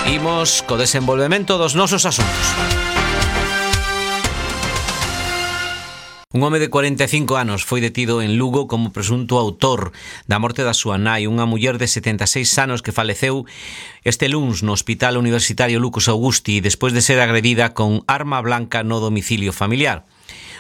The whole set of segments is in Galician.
Imos co desenvolvemento dos nosos asuntos. Un home de 45 anos foi detido en Lugo como presunto autor da morte da súa nai, unha muller de 76 anos que faleceu este luns no Hospital Universitario Lucas Augusti despois de ser agredida con arma blanca no domicilio familiar.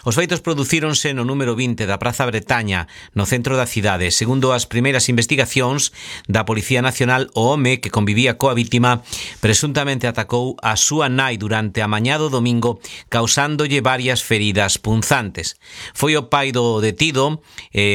Os feitos producíronse no número 20 da Praza Bretaña, no centro da cidade. Segundo as primeiras investigacións da Policía Nacional, o home que convivía coa vítima presuntamente atacou a súa nai durante a mañá do domingo, causándolle varias feridas punzantes. Foi o pai do detido,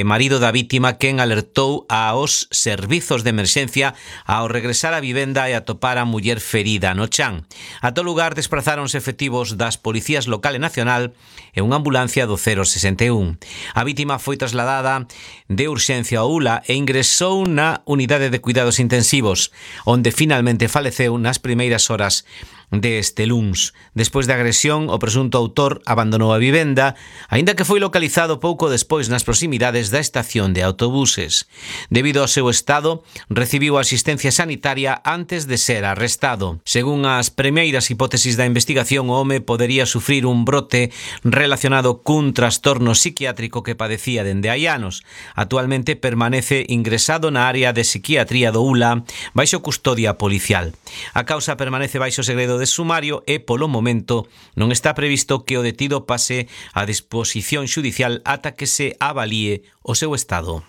marido da vítima, quen alertou aos servizos de emerxencia ao regresar á vivenda e atopar a muller ferida no chan. A todo lugar desprazáronse efectivos das policías local e nacional e unha ambulancia do 061. A vítima foi trasladada de urxencia ao ULA e ingresou na unidade de cuidados intensivos, onde finalmente faleceu nas primeiras horas deste luns. Despois da agresión, o presunto autor abandonou a vivenda, aínda que foi localizado pouco despois nas proximidades da estación de autobuses. Debido ao seu estado, recibiu asistencia sanitaria antes de ser arrestado. Según as primeiras hipótesis da investigación, o home podería sufrir un brote relacionado cun trastorno psiquiátrico que padecía dende hai anos. Actualmente permanece ingresado na área de psiquiatría do ULA baixo custodia policial. A causa permanece baixo segredo de sumario e, polo momento, non está previsto que o detido pase a disposición xudicial ata que se avalíe o seu estado.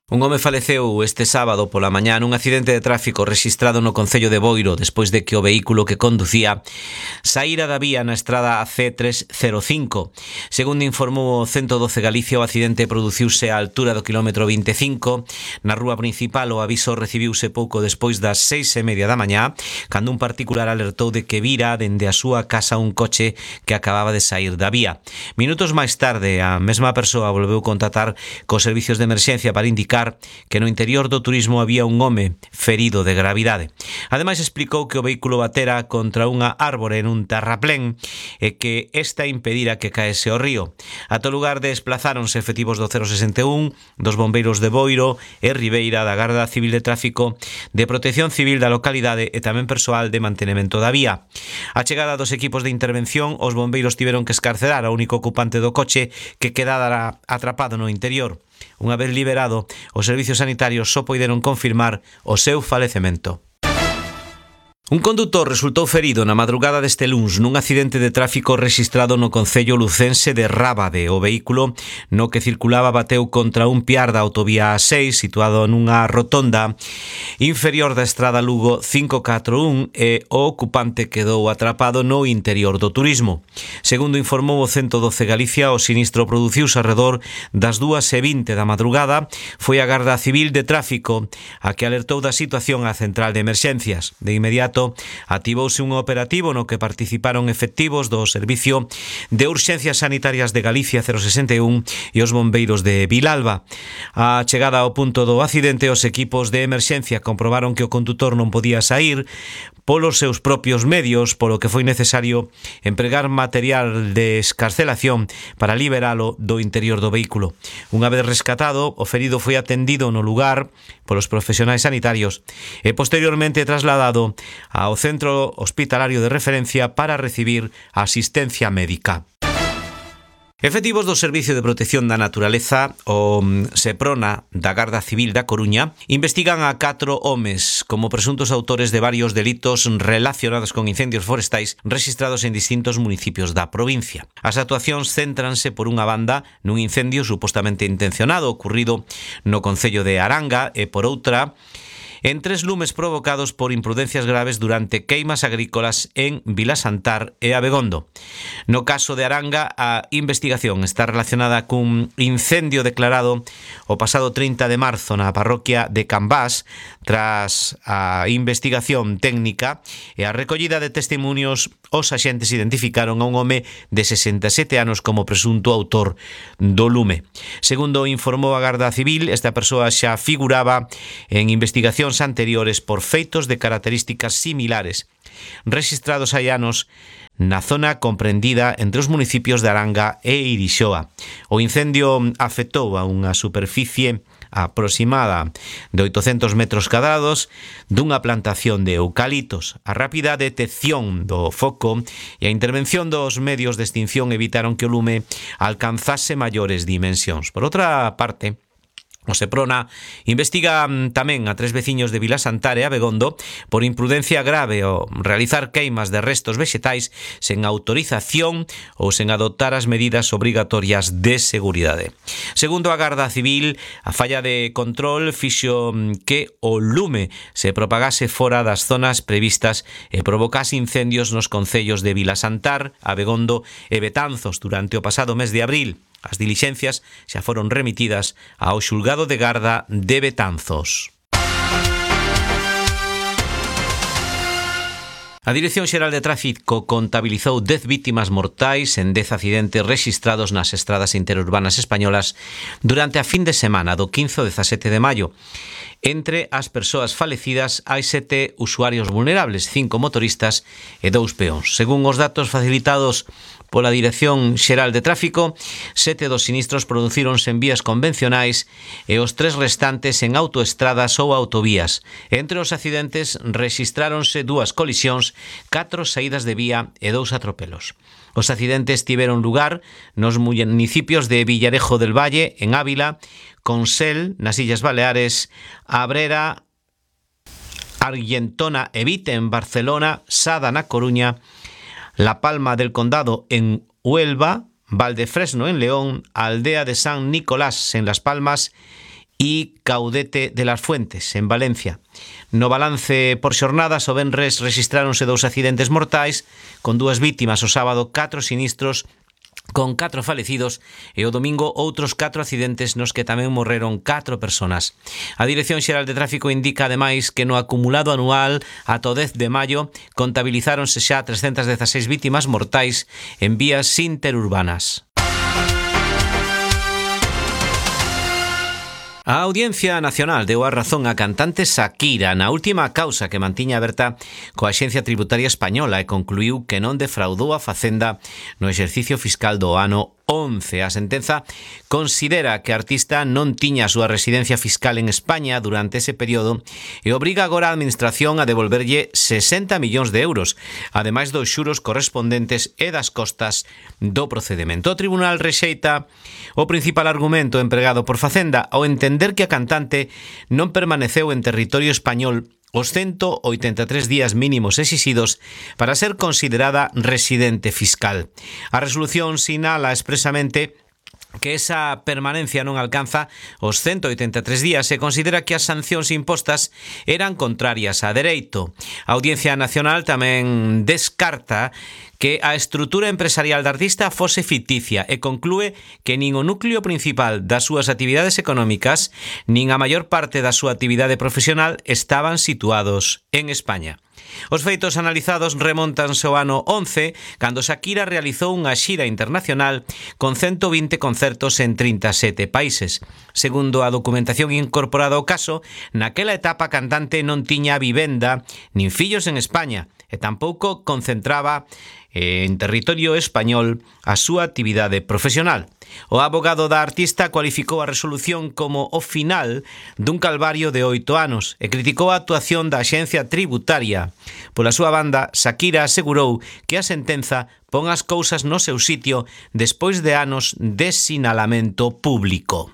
Un home faleceu este sábado pola mañá nun accidente de tráfico rexistrado no concello de Boiro despois de que o vehículo que conducía saíra da vía na estrada C305. Segundo informou o 112 Galicia, o accidente produciuse á altura do kilómetro 25. Na rúa principal o aviso recibiuse pouco despois das 6:30 da mañá, cando un particular alertou de que vira dende a súa casa un coche que acababa de saír da vía. Minutos máis tarde, a mesma persoa volveu contactar cos servicios de emerxencia para indicar que no interior do turismo había un home ferido de gravidade. Ademais, explicou que o vehículo batera contra unha árbore nun terraplén e que esta impedira que caese ao río. A todo lugar desplazáronse efectivos do 061, dos bombeiros de Boiro e Ribeira, da Garda Civil de Tráfico, de Protección Civil da localidade e tamén persoal de mantenemento da vía. A chegada dos equipos de intervención, os bombeiros tiveron que escarcerar ao único ocupante do coche que quedara atrapado no interior. Unha vez liberado, os servizos sanitarios só poideron confirmar o seu falecemento. Un condutor resultou ferido na madrugada deste luns nun accidente de tráfico rexistrado no concello lucense de Rábade. O vehículo no que circulaba bateu contra un piar da autovía A6 situado nunha rotonda inferior da estrada Lugo 541 e o ocupante quedou atrapado no interior do turismo. Segundo informou o 112 Galicia, o sinistro produciuse arredor das 2:20 da madrugada. Foi a Garda Civil de Tráfico a que alertou da situación á central de emerxencias. De inmediato activouse un operativo no que participaron efectivos do Servicio de Urxencias Sanitarias de Galicia 061 e os bombeiros de Vilalba. A chegada ao punto do accidente, os equipos de emerxencia comprobaron que o condutor non podía saír polos seus propios medios, polo que foi necesario empregar material de escarcelación para liberalo do interior do vehículo. Unha vez rescatado, o ferido foi atendido no lugar polos profesionais sanitarios e posteriormente trasladado ao centro hospitalario de referencia para recibir asistencia médica. Efectivos do Servicio de Protección da Naturaleza, o SEPRONA da Garda Civil da Coruña, investigan a 4 homes como presuntos autores de varios delitos relacionados con incendios forestais rexistrados en distintos municipios da provincia. As actuacións céntranse por unha banda nun incendio supostamente intencionado ocorrido no concello de Aranga e por outra en 3 lumes provocados por imprudencias graves durante queimas agrícolas en Vilasantar e Abegondo. No caso de Aranga, a investigación está relacionada cun incendio declarado o pasado 30 de marzo na parroquia de Cambás. Tras a investigación técnica e a recollida de testimonios, os axentes identificaron a un home de 67 anos como presunto autor do lume. Segundo informou a Garda Civil, esta persoa xa figuraba en investigacións anteriores por feitos de características similares, rexistrados hai anos na zona comprendida entre os municipios de Aranga e Irixoa. O incendio afectou a unha superficie aproximada de 800 metros cadrados dunha plantación de eucaliptos. A rápida detección do foco e a intervención dos medios de extinción evitaron que o lume alcanzase maiores dimensións. Por outra parte, o Seprona investiga tamén a 3 veciños de Vilasantare, Abegondo, por imprudencia grave ao realizar queimas de restos vexetais sen autorización ou sen adoptar as medidas obrigatorias de seguridade. Segundo a Garda Civil, a falla de control fixo que o lume se propagase fora das zonas previstas e provocase incendios nos concellos de Vilasantar, Abegondo e Betanzos durante o pasado mes de abril. As dilixencias xa foron remitidas ao xulgado de garda de Betanzos. A Dirección Xeral de Tráfico contabilizou 10 vítimas mortais en 10 accidentes rexistrados nas estradas interurbanas españolas durante a fin de semana do 15 ao 17 de maio. Entre as persoas falecidas hai 7 usuarios vulnerables, 5 motoristas e 2 peóns. Según os datos facilitados pola Dirección Xeral de Tráfico, 7 dos sinistros producíronse en vías convencionais e os 3 restantes en autoestradas ou autovías. Entre os accidentes rexistráronse 2 colisións, 4 saídas de vía e 2 atropelos. Os accidentes tiveron lugar nos municipios de Villarejo del Valle, en Ávila, Consell, nas Illas Baleares, Abrera, Argentona e Vite, en Barcelona, Sada, na Coruña, La Palma del Condado, en Huelva, Valdefresno, en León, Aldea de San Nicolás, en Las Palmas e Caudete de las Fuentes, en Valencia. No balance por xornadas, o venres rexistráronse 2 accidentes mortais, con 2 vítimas o sábado, 4 sinistros, con 4 falecidos, e o domingo outros 4 accidentes nos que tamén morreron 4 personas. A Dirección Xeral de Tráfico indica ademais que no acumulado anual ata o 10 de maio contabilizáronse xa 316 vítimas mortais en vías interurbanas. A Audiencia Nacional deu a razón á cantante Shakira na última causa que mantiña aberta coa Axencia Tributaria Española e concluiu que non defraudou a Facenda no exercicio fiscal do ano 11. A sentenza considera que a artista non tiña a súa residencia fiscal en España durante ese período e obriga agora a Administración a devolverlle 60 millóns de euros, ademais dos xuros correspondentes e das costas do procedimento. O tribunal rexeita o principal argumento empregado por Facenda ao entender que a cantante non permaneceu en territorio español os 183 días mínimos exixidos para ser considerada residente fiscal. A resolución sinala expresamente que esa permanencia non alcanza os 183 días e considera que as sancións impostas eran contrarias a dereito. A Audiencia Nacional tamén descarta que a estrutura empresarial da artista fose ficticia e conclúe que nin o núcleo principal das súas actividades económicas nin a maior parte da súa actividade profesional estaban situados en España. Os feitos analizados remontanse ao ano 11, cando Shakira realizou unha xira internacional con 120 concertos en 37 países. Segundo a documentación incorporada ao caso, naquela etapa a cantante non tiña vivenda nin fillos en España e tampouco concentraba en territorio español a súa actividade profesional. O abogado da artista cualificou a resolución como o final dun calvario de 8 anos e criticou a actuación da Axencia Tributaria. Pola súa banda, Shakira asegurou que a sentenza pon as cousas no seu sitio despois de anos de sinalamento público.